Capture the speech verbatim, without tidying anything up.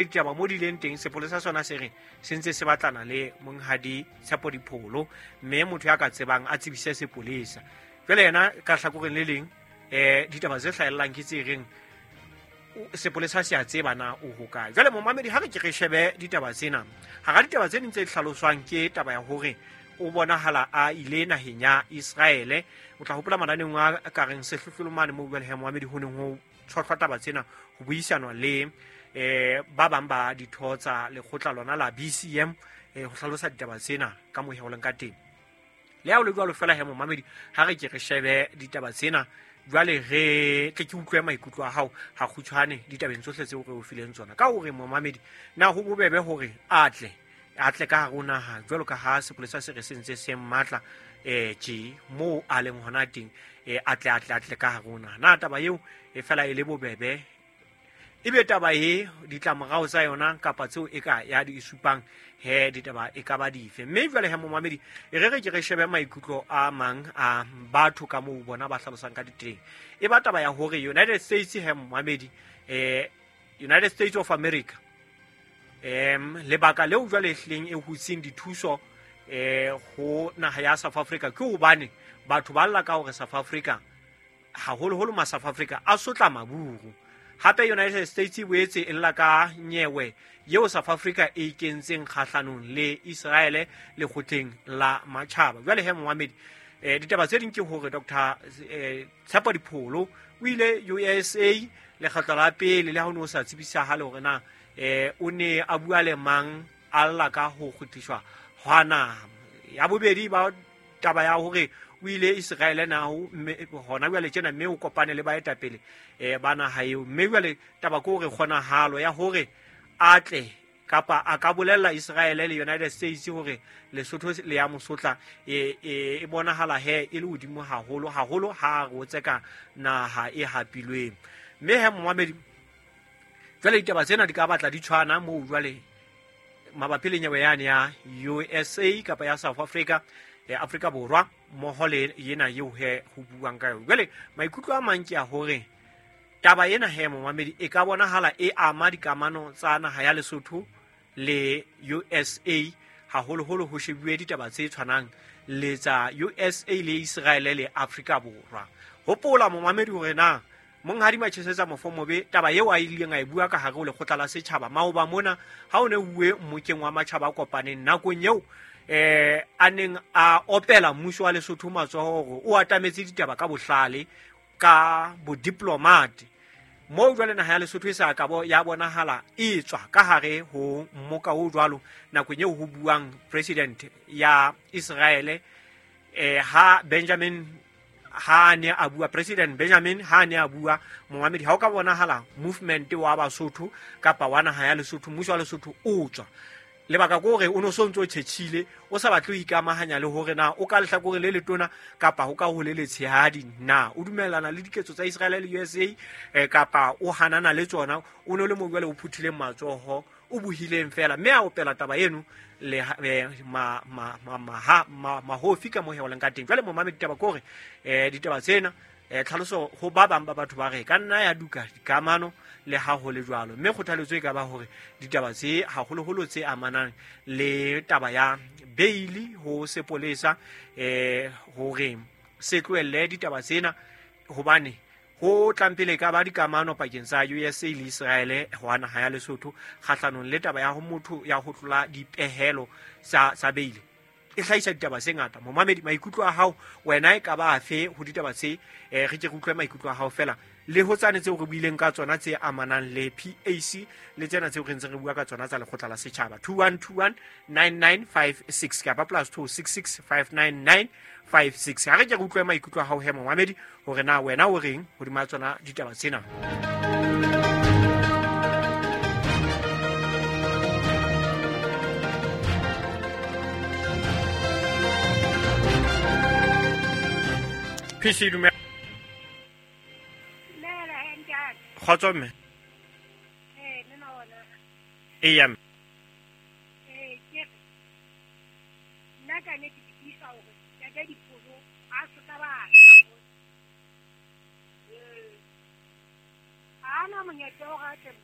Ditaba mo di leng teng, sepolesa sona se re se ntse se batlana le monghadi Tshepo Dipholo, mme motho ya ka tsebang a tsebise sepolesa. Jwale yena ka hlakoreng le leng, um ditaba tse hlahellang ke tse reng sepolesa se a tseba na o hokae. Jwale momamedi, ha re ke re shebe ditaba tsena, hara ditaba tse ding tse hlaloswang ke taba ya hore o bonahala a ile naheng ya Israele. O tla hopola mananeng a ka reng sehlohlolo mane moo jwale he momamedi ho neng ho tshohlwa taba tsena, ho buisanwa le eh ba bang ba ditho tsa lekgotla lona la B C M, eh ho hlalosa ditaba tsena ka moo ho leng ka teng. Le ha o le jwalo fela he momamedi, ha re ke re shebe ditaba tsena jwale, re tle ke utlwe maikutlo a hao ha kgutshwane ditabeng tsohle tseo re o fileng tsona. Ka hore momamedi, na ho bobebe hore a tle a tle ka hare ho naha jwalo ka ha sepolesa se re se ntse se matla eh tje moo a leng hona teng, eh a tle a tle a tle ka hare ho naha. Na taba eo e fela e le bobebe? Ebe taba e ditlamorao tsa yona kapa tseo e ka ya di supang he ditaba e ka ba dife? Mme jwale he momamedi, e re re ke re shebe maikutlo a mang a batho ka moo bona ba hlalosang ka diteng. E ba taba ya hore United States he momamedi, eh United States of America, em lebaka leo jwale ehlileng e hutseng dithuso eh ho naha ya South Africa ke hobane batho ba lla ka hore South Africa, haholoholo ma South Africa a sotla maburu. Hape United States e boetse e lla ka nyewe yeo South Africa e ikentseng kgahlanong le Israele lekgotleng la matjhaba. Jwale he momamedi, eh ditaba tse ding ke hore Doctor eh, Tshepo Dipholo o ile U S A lekgetlo la pele, le ha o ne o sa tsebisahale hore na eh o ne a bua le mang, a lla ka ho kgutliswa hwa naha. Ya bobedi ba taba ya hore o ile Israele na ho hona jwale tjena, mme o kopane le baetapele eh ba naha eo. Mme jwale taba ke hore kgonahalo ya hore a tle kapa a ka bolella Israele le United States hore Lesotho le ya mosotla e e bonahala he e le hodimo haholo haholo ha re o tseka naha e hapilweng. Mme he momamedi, jwale ditaba tsena di ka batla di tshwana moo jwale mabapi le nyewe yane ya U S A kapa ya South Africa, eh, Afrika Borwa mmoho le yena eo he ho buang ka yona. Jwale maikutlo a mang ke a hore taba ena he momamedi e ka bonahala e ama dikamano tsa naha ya Lesotho le U S A, haholoholo ho shebuwe ditaba tse tshwanang le tsa U S A le Israele le Afrika Borwa. Hopola momamedi hore na monghadi Machesetsa Mofomobe taba eo a ileng a e bua ka hare ho lekgotla la setjhaba maoba mona ha o ne uwe mmokeng wa matjhaba a kopaneng nakong eo eh a neng a opela mmuso wa Lesotho matsoho hore o atametse ditaba ka bohlale ka bodiplomat. Moo jwale naha ya Lesotho e sa ka bo ya bonahala e tswa ka hare ho mmoka o jwalo nakong eo ho buang president ya Israele, eh ha Benjamin ha ne a bua, President Benjamin ha ne a bua momamedi, ha o ka bonahala movement wa Basotho kapa wa naha ya Lesotho, mmuso wa Lesotho o tswa. Lebaka ke hore o no so ntso tjhetjhile, o sa batle ho ikamahanya le hore na o ka lehlakoreng le letona kapa ho ka ho le letshehadi, na o dumellana le diketso tsa Israel le U S A eh, kapa o hanana le tsona. O no le mo jwale o phuthileng matsoho, o buhileng fela, mme a opela taba eno le eh, ma ma ma ma, ma mahofi ka moo ho leng ka teng. Jwale momamedi, ditaba ke hore eh ditaba tsena eh tlhaloso ho ba bang ba batho ba re ka nna ya duka dikamano le ha ho le jwalo, mme kgothaletso e ka ba hore ditaba tse haholoholo tse amanang le taba ya bail ho sepolesa eh hore se tlohelle ditaba tsena, hobane ho tlampele ka ba dikamano pakeng tsa U S A le Israele ho naha ya Lesotho kgahlanong le taba ya ho motho ya ho tlola dipehelo tsa tsa bail e hlahisa ditaba tse ngata. Momamedi, maikutlo a hao wena e ka ba afe ho ditaba tse? Eh re ke re utlwe maikutlo a hao fela le ho tsane tseo re buileng ka tsona tse amanang le P A C le tsena tseo re ntseng re bua ka tsona tsa lekgotla la setjhaba. Two one two one nine nine five six kapa plus two six six five nine nine five six. Ha re ke re utlwe maikutlo a hao he momamedi hore na wena o reng hodima tsona ditaba tsena. P C dumela. Dumela ntate. Kgotso mme. Eh nna ona. Eya mme. Eh ke nna ka ne ke tiisa hore ntate Dipholo a sotla batjha mo. Eh. Ana monyetla o rate